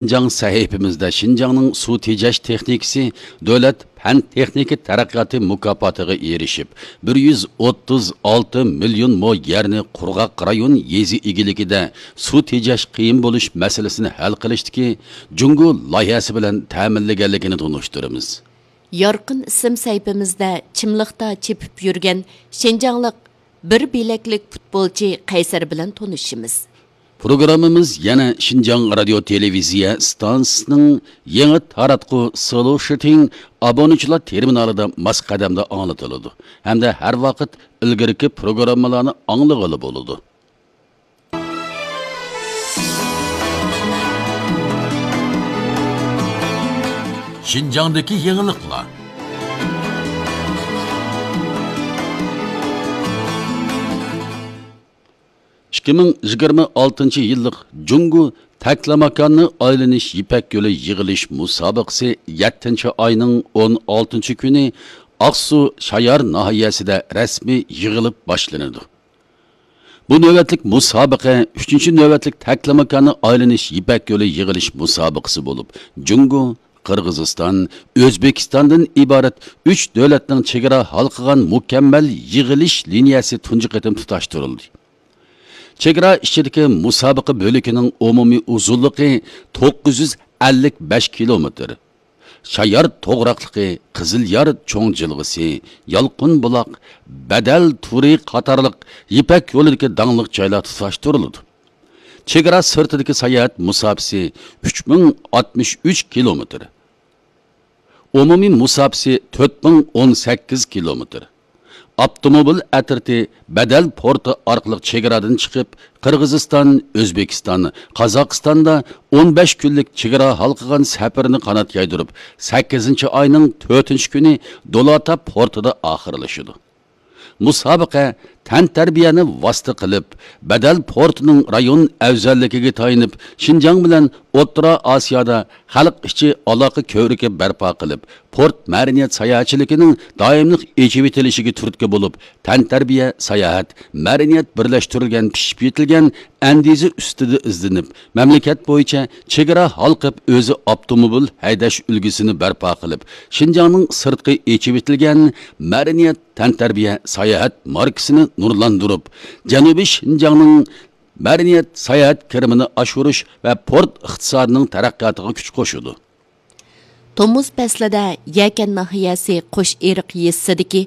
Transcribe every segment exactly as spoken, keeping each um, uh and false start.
شىنجاڭ سەھىپىمىزدە شىنجاڭنىڭ سۇ تېجەش تېخنىكىسى دۆلەت پەن تېخنىكا تەرەققىياتى مۇكاپاتىغا ئېرىشىپ، بىر يۈز ئوتتۇز ئالتە مىليون مو يەرنى قۇرغاق رايون يېزا ئىگىلىكىدە سۇ تېجەش قىيىن بولۇش مەسىلىسىنى ھەل قىلىشتىكى جۇڭگو لايىھەسى بىلەن تەمىنلىگەنلىكىنى تونۇشتۇرىمىز. يارقىن ئىسىم سەھىپىمىزدە چىملىقتا چېپىپ يۈرگەن شىنجاڭلىق بىر بىلەكلىك پۇتبولچى قەيسەر بىلەن تونۇشىمىز. پروگراممىمىز يەنە شىنجاڭ رادىيو تېلېۋىزىيە ئىستانسىسىنىڭ يېڭى تاراتقۇ سلوشىتىڭ ئابۇنىچىلار تېرمىنالىدا ماس قەدەمدە ئاڭلىتىلىدۇ ھەمدە ھەر ۋاقىت ئىلگىرىكى پروگراممىلارنى ئاڭلىغىلى بولىدۇ. شىنجاڭدىكى يېڭىلىقلار. ئىككى مىڭ يىگىرمە ئالتىنچى يىللىق جۇڭگو تەكلىماكاننى ئايلىنىش يىپەك يولى يىغىلىش مۇسابىقىسى يەتتىنچى ئاينىڭ ئون ئالتىنچى كۈنى ئاقسۇ شايار ناھىيەسىدە رەسمىي يىغىلىپ باشلىنىدۇ. بۇ نۆۋەتلىك مۇسابىقە ئۈچىنچى نۆۋەتلىك تەكلىماكاننى ئايلىنىش يىپەك يولى يىغىلىش مۇسابىقىسى بولۇپ، جۇڭگو، قىرغىزىستان، ئۆزبېكىستاندىن ئىبارەت ئۈچ دۆلەتنىڭ چېگرا ھالقىغان مۇكەممەل يىغىلىش لىنىيەسى تۇنجى قېتىم تۇتاشتۇرۇلدى. چېگرا ئىچىدىكى مۇسابىقە بۆلىكىنىڭ ئومۇمىي ئۇزۇنلۇقى توققۇز يۈز ئەللىك بەش كىلومېتىر. شايار توغراقلىقى، قىزىليار چوڭ جىلغىسى، يالقۇن بۇلاق، بەدەل تورى قاتارلىق يىپەك يولىدىكى داڭلىق جايلار تۇتاشتۇرۇلىدۇ. چېگرا سىرتىدىكى ساياھەت مۇساپىسى ئۈچ مىڭ ئاتمىش ئۈچ كىلومېتىر. ئومۇمىي مۇساپىسى تۆت مىڭ ئون سەككىز كىلومېتىر. ئاپتوموبىل ئەترىتى بەدەل پورتى ئارقىلىق چېگرادىن چىقىپ، قىرغىزىستان، ئۆزبېكىستان، قازاقىستاندا ئون بەش كۈنلۈك چېگرا ھالقىغان سەپىرىنى قانات يايدۇرۇپ، سەككىزىنچى ئاينىڭ تۆتىنچى كۈنى دولاتا پورتىدا ئاخىرلىشىدۇ. مۇسابىقە تەنتەربىيەنى ۋاسىتە قىلىپ، بەدەل پورتىنىڭ رايون ئەۋزەللىكىگە تايىنىپ، شىنجاڭ بىلەن ئوتتۇرا ئاسىيادا خەلق ئىچى ئالاقە كۆۋرۈكى بەرپا قىلىپ، پورت مەدەنىيەت ساياھەتچىلىكىنىڭ دائىملىق ئېچىۋېتىلىشىگە تۈرتكە بولۇپ، تەنتەربىيە، ساياھەت، مەدەنىيەت بىرلەشتۈرۈلگەن پىشىپ يېتىلگەن ئەندىزە ئۈستىدە ئىزدىنىپ، مەملىكەت بويىچە چېگرا ھالقىپ ئۆزى ئاپتوموبىل ھەيدەش ئۈلگىسىنى بەرپا قىلىپ، شىنجاڭنىڭ سىرتقى ئېچىۋېتىلگەن مەدەنىيەت، تەنتەربىيە، ساياھەت ماركىسىنى نۇرلاندۇرۇپ، جەنۇبىي شىنجاڭنىڭ مەدەنىيەت، ساياھەت كىرىمىنى ئاشۇرۇش ۋە پورت ئىقتىسادىنىڭ تەرەققىياتىغا كۈچ قوشىدۇ. تومۇز پەسلىدە يەكەن ناھىيەسى قوشئېرىق يېزىسىدىكى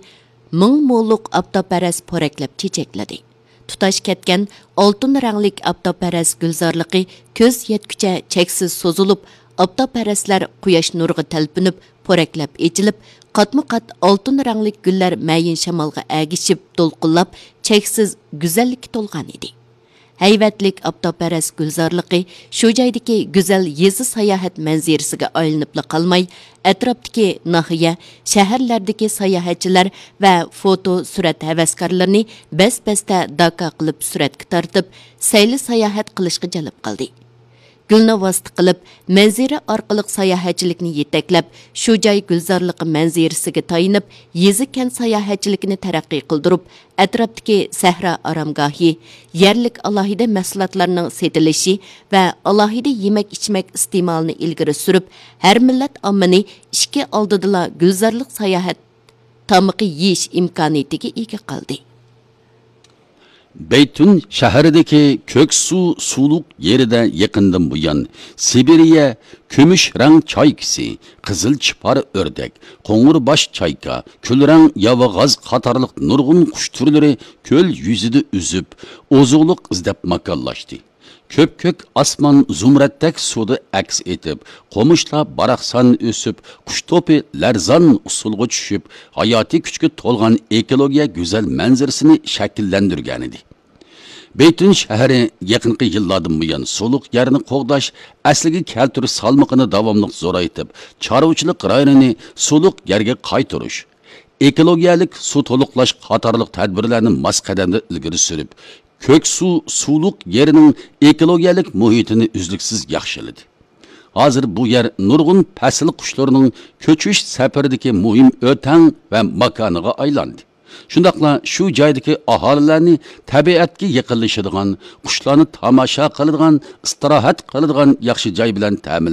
مىڭ مولۇق ئاپتاپپەرەس پورەكلەپ چېچەكلىدى. تۇتاش كەتكەن ئالتۇن رەڭلىك ئاپتاپپەرەس گۈلزارلىقى كۆز يەتكۈچە چەكسىز سوزۇلۇپ، ئاپتاپپەرەسلەر قۇياش نۇرىغا تەلپۈنۈپ، پورەكلەپ ئېچىلىپ، قاتمۇ قات ئالتۇن رەڭلىك گۈللەر مەيىن شامالغا ئەگىشىپ، دولقۇنلاپ، چەكسىز گۈزەللىككە تولغان ئىدى. ھەيۋەتلىك ئاپتاپپەرەس گۈلزارلىقى شۇ جايدىكى گۈزەل يېزا ساياھەت مەنزىرىسىگە ئايلىنىپلا قالماي، ئەتراپتىكى ناھىيە، شەھەرلەردىكى ساياھەتچىلەر ۋە فوتو، سۈرەت ھەۋەسكارلىرىنى بەس-بەستە داكا قىلىپ سۈرەتكە تارتىپ، سەيلە ساياھەت قىلىشقا جەلپ قىلدى. گۈلنى ۋاسىتە قىلىپ، مەنزىرە ئارقىلىق ساياھەتچىلىكنى يېتەكلەپ، شۇ جاي گۈلزارلىقى مەنزىرىسىگە تايىنىپ، يېزا-كەنت ساياھەتچىلىكىنى تەرەققىي قىلدۇرۇپ، ئەتراپتىكى سەھرا ئارامگاھى، يەرلىك ئالاھىدە مەھسۇلاتلارنىڭ سېتىلىشى ۋە ئالاھىدە يېمەك-ئىچمەك ئىستېمالىنى ئىلگىرى سۈرۈپ، ھەر مىللەت ئاممىنى ئىشىك ئالدىدىلا گۈلزارلىق ساياھەت تامىقى يېيىش ئىمكانىيىتىگە ئىگە قىلدى. بەيتۈن شەھىرىدىكى كۆكسۇ سۇلۇق يېرىدە يېقىندىن بۇيان سىبىرىيە كۈمۈش رەڭ چايكىسى، قىزىل چىپار ئۆردەك، قوڭۇر باش چايكا، كۈلرەڭ ياۋىغاز قاتارلىق نۇرغۇن قۇش تۈرلىرى كۆل يۈزىدە ئۈزۈپ، ئوزۇقلۇق ئىزدەپ ماكانلاشتى. كۆپكۆك ئاسمان زۇمرەتتەك سۇدا ئەكس ئېتىپ، قومۇشلار باراقسان ئۆسۈپ، قۇش توپى لەرزان ئۇسسۇلغا چۈشۈپ، ھاياتىي كۈچكە تولغان ئېكولوگىيە گۈزەل مەنزىرىسىنى شەكىللەندۈرگەنىدى. بېيتۈن شەھىرى يېقىنقى يىللاردىن بۇيان سۇلۇق يەرنى قوغداش، ئەسلىگە كەلتۈرۈش سالمىقىنى داۋاملىق زورايتىپ، چارۋىچىلىق رايونىنى سۇلۇق يەرگە قايتۇرۇش، ئېكولوگىيەلىك سۇ تولۇقلاش قاتارلىق تەدبىرلەرنى ماس قەدەمدە ئىلگىرى سۈرۈپ، كۆكسۇ سۇلۇق يېرىنىڭ ئېكولوگىيەلىك مۇھىتىنى ئۈزلۈكسىز ياخشىلىدى. ھازىر بۇ يەر نۇرغۇن پەسىل قۇشلىرىنىڭ كۆچۈش سەپىرىدىكى مۇھىم ئۆتەڭ ۋە ماكانىغا ئايلاندى. شۇنداقلا شۇ جايدىكى ئاھالىلەرنى تەبىئەتكە يېقىنلىشىدىغان، قۇشلارنى تاماشا قىلىدىغان، ئىستىراھەت قىلىدىغان ياخشى جاي بىلەن تەمىنلەيدۇ.